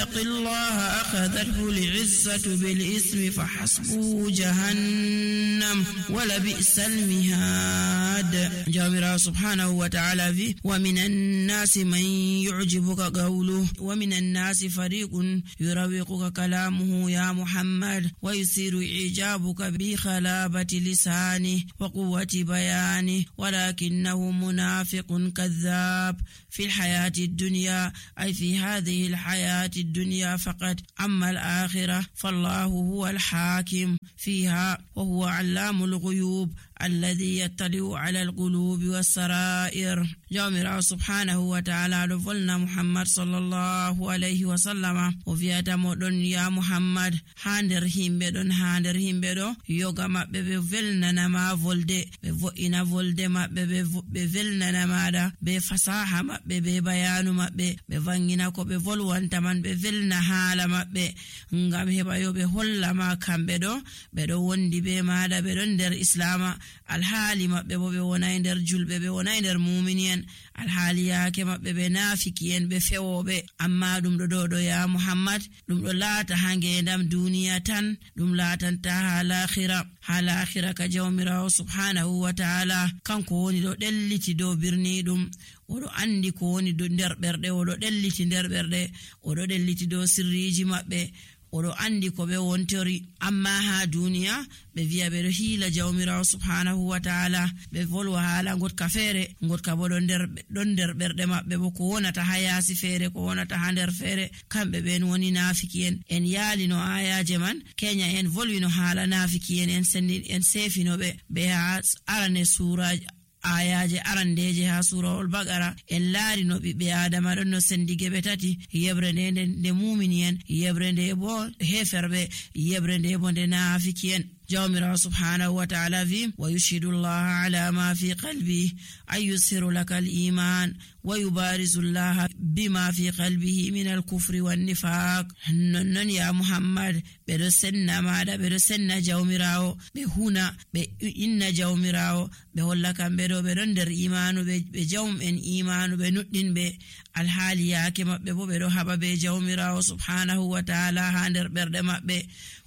يتق الله أخذته العزة بالإثم فحسبه جهنم ولبئس المهاد. جامرا سبحانه وتعالى في ومن الناس من يعجبك قوله ومن الناس فريق يروقك كلامه يا محمد ويثير إعجابك بخلابة لسانه وقوة بيانه ولكنه منافق كذاب في الحياة الدنيا أي في هذه الحياة الدنيا فقط. أما الآخرة فالله هو الحاكم فيها وهو علام الغيوب الذي يطلع على القلوب والسرائر. جامرا سبحانه وتعالى لفلنا محمد صلى الله عليه وسلم وفي أتمدن يا محمد هاندر همبدون يوغا مابbe be velnana ma volde be vo'ina volde mabbe be velnana maada be fasaha mabbe be bayanu mabbe be vangina ko be volwanta man be velna hala mabbe ngam heba yo be holla ma kambe do be do wondi be maada be don der islama alhaali mabbe bo be wonay der julbe be wonay der mu'minin alhaali yaake mabbe be nafikiyen be fewobe. Amma dum do ya Muhammad dum do laata hange ndam duniya tan dum laatanta hala akhira ka jawmira subhanahu wa ta'ala kanko woni do delliti do birni dum odo andi ko woni do der berde odo delliti der berde odo delliti do sirriji mabbe odo andi ko be wontori. Amma ha duniya be viya be do hila jawmira subhanahu wa ta'ala be volwa hala gotka fere gotka bo don der berde mabbe bo ko wonata hayasi fere ko wonata hander fere kambe ben woni nafikiyen en yali no ayaje man kenya en volwino hala nafikiyen en sendi en sefino be ha arane sura ayaje arandeje ha surahul baqara en laari no bibbe adama don no sendige be tati yebrende de mu'miniyen yebrende bo heferbe yebrende bo de nafikiyen. جامرا سبحانه وتعالى في ويشهد الله على ما في قلبه أن يسر لك الإيمان ويبارز الله بما في قلبه من الكفر والنفاق. نن يا محمد برسنا ماذا برسنا جامراو بهنا بإن جامراو بقول لك بدو بدندر إيمان بجوم إن إيمان بندين بالحالية كما بدو هبا بجامراو سبحانه وتعالى هندر بردما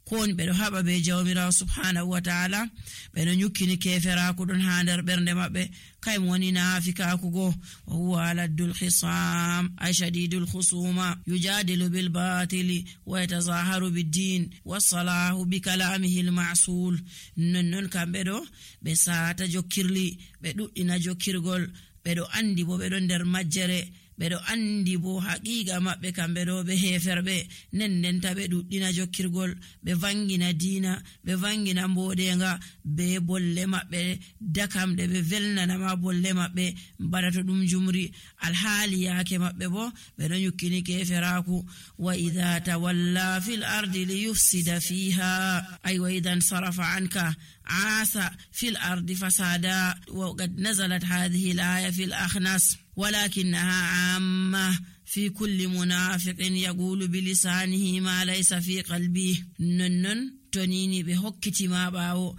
kon be do haba be jawmira subhanahu wa ta'ala be no nyukini kefera ko don hander bernde mabbe kay woni nafika ko go huwa aladul khisam ay shadidul khusuma yujadilu bil batili wa yatazaharu bid din was-salahu bi kalamihi al ma'sul non kambe do be saata jokirli be duddina jokirgol be do andi bo be don der majjere bedo andi bo haqiqa mabbe kambe do be heferbe nennen tabe duddina jokkirgol be vangina dina be vangina mbodenga be bolle mabbe dakamde be velnana ma bolle mabbe barato dum jumri alhali yake mabbe bo be do nyukini keferaku wa idha tawalla fil ardi liyufsida fiha ay wa idan sarafa anka عاث في الأرض فسادا. وقد نزلت هذه الآية في الأخنس ولكنها عامة في كل منافق يقول بلسانه ما ليس في قلبه. ننن تنيني بحكتي ما باو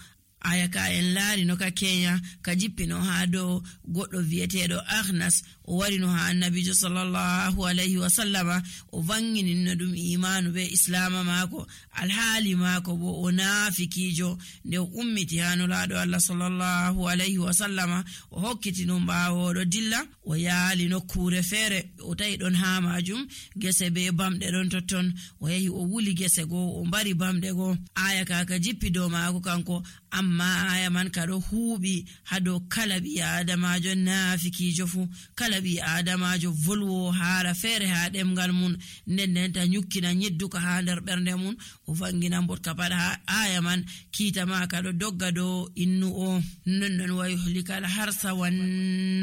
ayaka en laari no ka Kenya ka jippino ha do goddo vietedo Akhnas o wari no ha annabi sallallahu alaihi wasallama o vangini no dum imanu be islama mako alhali mako bo o nafikijo de ummiti hanu laado Allah sallallahu alaihi wasallama o hokkiti no baawo do dilla o yaali no kure fere o tay don ha majum gese be bamde don totton o yahi o wuli gese go o bari bamde go ayaka ka jippi do mako kanko amma aya man kado huubi hado kalabi adamajo nafikijo fu kalabi adamajo volwo haara fere ha demgal mun nden ta nyukkina nyedduka ha der bernde mun o vangina mbot kapada aya man kita ma kado dogga do innu o non wa yuhlika al harsa wan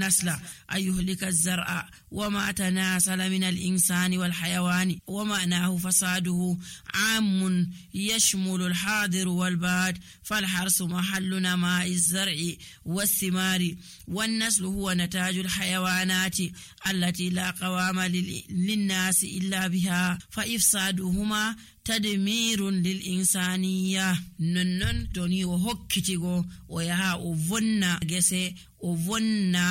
nasla ayuhlika az-zar'a wama tanasala min al-insani wal hayawani wama nahu fasaduhu amun yashmulu al-hadir wal bad fal harsu mahalluna ma az-zar'i was-thimari wan naslu huwa nataju al-hayawanati allati la qawama lin-nas illa biha fa ifsaduhuma tadmirun lil insaniya. Non toni o hokkitigo o yaha o vonna gese o vonna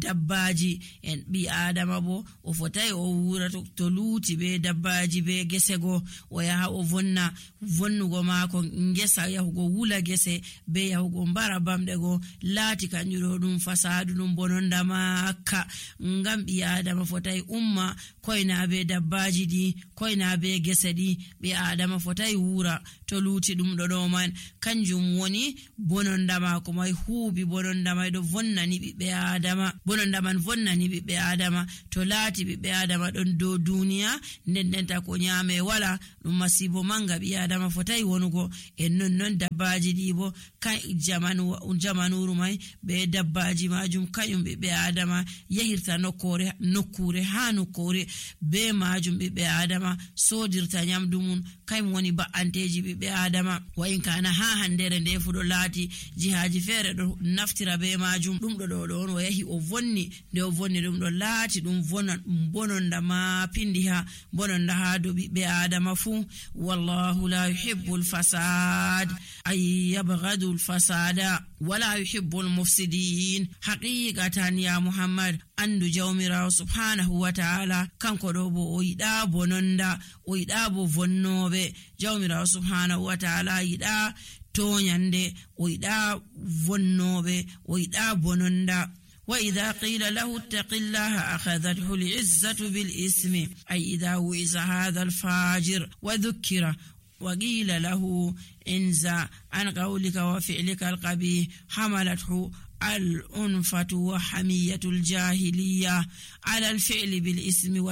dabbaji en bi adama bo o fotai o wura to luuti be dabbaji be gesego o yaha o vonna vonnugo maako ngesa yahugo wula gese be yahugo mbara bamde go laati kanjuro dum fasadu dum bononda makka ngam bi adama fotai umma koina be dabbaji di koina be gese di bi adama fotai wura to luuti dum do man kanjum woni bononda maako mai huubi bononda mai do vonnani bi adama bononda man vonnani bi adama to laati bi adama don do duniya ndendenta ko nyaame wala dum masibo manga bi adama fotai wonugo en non dabbaji di bo kan jamanuru mai be dabbaji majum kayum be adama yahirta nokkure hanu kore be majum be adama sodirta nyamdumun kaym woni ba'anteji be adama wa in kana ha handere nde fudo laati jihaji fere do naftira be majum dum do on o yahi o vonni de o vonni dum do laati dum bononda ma pindiha bononda ha do be adama fu wallahu la yuhibbul fasad ay yabghadu al fasada wala yuhibbul mufsidin haqiqatan ya muhammad andu jawmira subhanahu wa ta'ala kanko do bo o yida bononda o yida bo vonnobe jawmira subhanahu wa ta'ala yida tonyande o yida vonnobe o yida bononda وإذا قيل له اتق الله أخذته العزة بالإثم أي إذا وعظ هذا الفاجر وذكر وقيل له انزع عن قولك وفعلك القبيح حملته الأنفة وحمية الجاهلية على الفعل بالإثم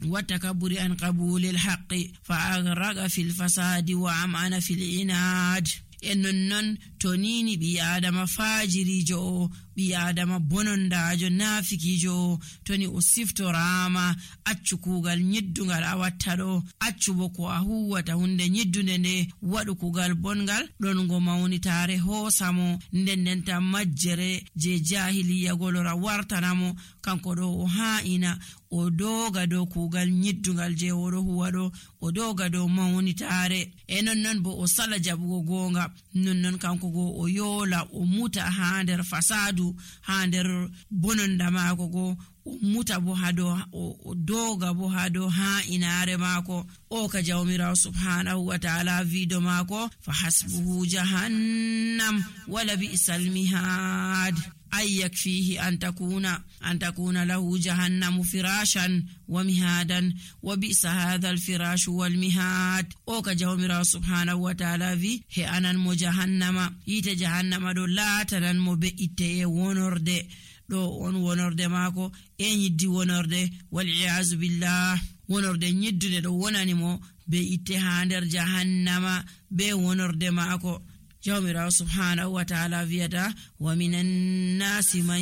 والتكبر عن قبول الحق فأغرق في الفساد وعمعن في العناد ennon tonini bi adama fajirijo bi adama bonondajo nafikijo toni o siftorama accu kugal nyiddungal awattado accu boko a huwata hunde nyiddunde ne wadu kugal bongal don go mawnitare hosamo ndendenta majjere je jahiliya golora wartanamo kanko do o haina o doga do kugal nyiddungal je woro huwado o doga do mawnitare ennon bo o sala jabugo gonga nonnon kanko go o yola o muta ha der fasadu ha der bononda maako go o muta bo hado o doga bo hado ha inare maako o ka jawmira subhanahu wa ta'ala vido maako fa hasbuhu jahannam wala bi'sal mihad أي يكفيه أن تكون له جهنم فراشا ومهادا وبئس هذا الفراش والمهاد أو كجومرا سبحانه وتعالى في هي أنا مجهنم يتجهنم دو لا تنن مبئته ونرد دو ونرد ماكو يدي ونرد والعياذ بالله ونرد يدي دو ونانمو بئته هاندر جهنم بي ونرد ماكو جومرا سبحانه وتعالى فيدا ومن الناس من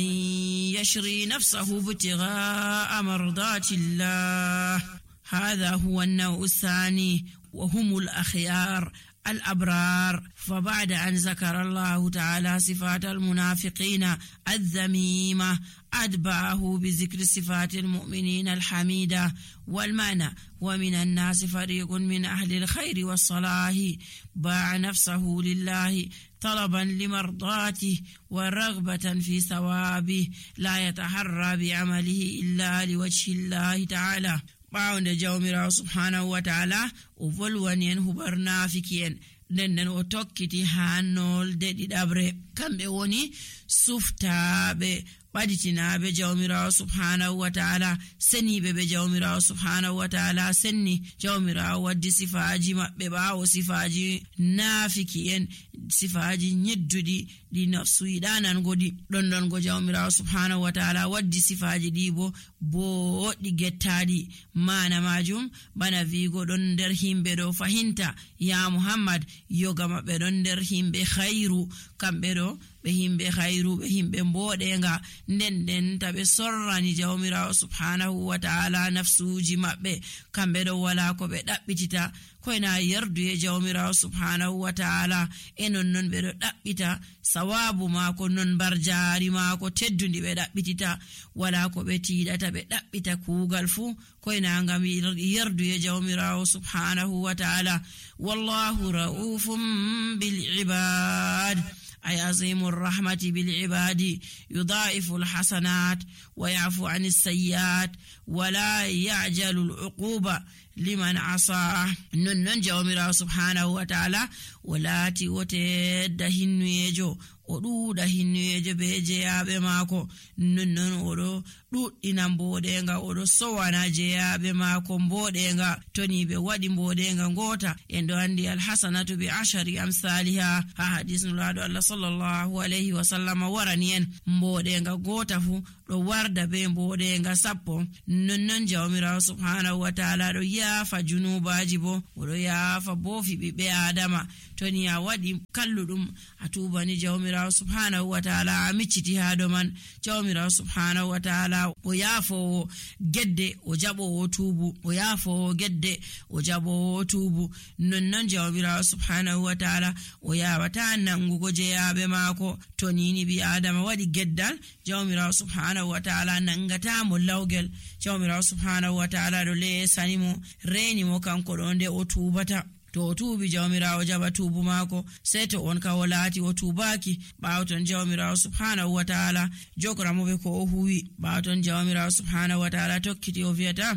يشري نفسه ابتغاء مرضات الله هذا هو النوع الثاني وهم الأخيار الأبرار فبعد أن ذكر الله تعالى صفات المنافقين الذميمة أتبعه بذكر صفات المؤمنين الحميدة والمعنى ومن الناس فريق من أهل الخير والصلاح باع نفسه لله طلبا لمرضاته ورغبة في ثوابه لا يتحرى بعمله إلا لوجه الله تعالى باون جawmira subhanahu wa ta'ala o volwani en hubarna fikien den o tokkiti hanol de didabre kambe woni suftabe baditinabe jawmira subhanahu wa ta'ala senibe be jawmira subhanahu wa ta'ala senni jawmira waddi sifaji mabbe bawo sifaji nafikien sifaji nyeddudi di nafsu idanan godi don go jawmira subhanahu wa ta'ala waddi sifaji dibo bo di gettadi mana majum bana vigo don der himbe do fahinta ya muhammad yoga mabbe don der himbe khairu kambe do be himbe khairu be himbe mbodenga den tabe sorrani jawmira subhanahu wa ta'ala nafsuji mabbe kambe do wala ko be dabbitita koina yardu e jawmira subhanahu wa ta'ala non be do dabbita sawabu mako non barjaari mako teddundi be dabbitita wala ko be tiidata be dabbita kugal fu koina ngam yardu e jawmira subhanahu wa ta'ala wallahu raufum bil ibad ay azimur rahmati bil ibadi yudha'ifu al hasanat wa ya'fu 'anis sayyi'at wa la ya'jalu al 'uquba liman asa. non jawmirawo subhanahu wa ta'ala walati wote da hinnuyejo o ɗuuɗa hinnuyejo be jeyaɓe maako non oɗo ɗuɗɗina mboɗenga oɗo sowana jeyaɓe maako mboɗenga toni ɓe waɗi mboɗenga ngota en ɗo andi alhasanatu bi ashari amsaliha ha hadis nulaɗo Allah sallallahu alayhi wa sallam warani en mboɗenga gota fu ɗo warda be mboɗenga 10 non jawmirawo subhanahu wa ta'ala ɗo yaafa junubaji bo oɗo yaafa bofi ɓiɓɓe adama toni a waɗi kalluɗum a tubani jawmirawo subhanahu wa ta'ala a micciti ha do man jawmirawo subhanahu wa ta'ala o yaafowo gedde o jaɓowo tuubu o yaafowo gedde o jaɓowo tuubu non jawmirawo subhanahu wa ta'ala o yawata nangugo jeyaɓe maako to nini bi adama waɗi geddal jawmirawo subhanahu wa ta'ala nangata mo lawgel jawmirawo subhanahu wa ta'ala ɗo lesanimo renimo kanko ɗo nde o tubata to o tuubi jawmirawo jaɓa tuubu maako sey to on ka o laati o tuubaki ɓaawton jawmirawo subhanahu wa ta'ala jogramoɓe ko o huwi ɓaawton jawmirawo subhanahu wa ta'ala tokkiti o wiyata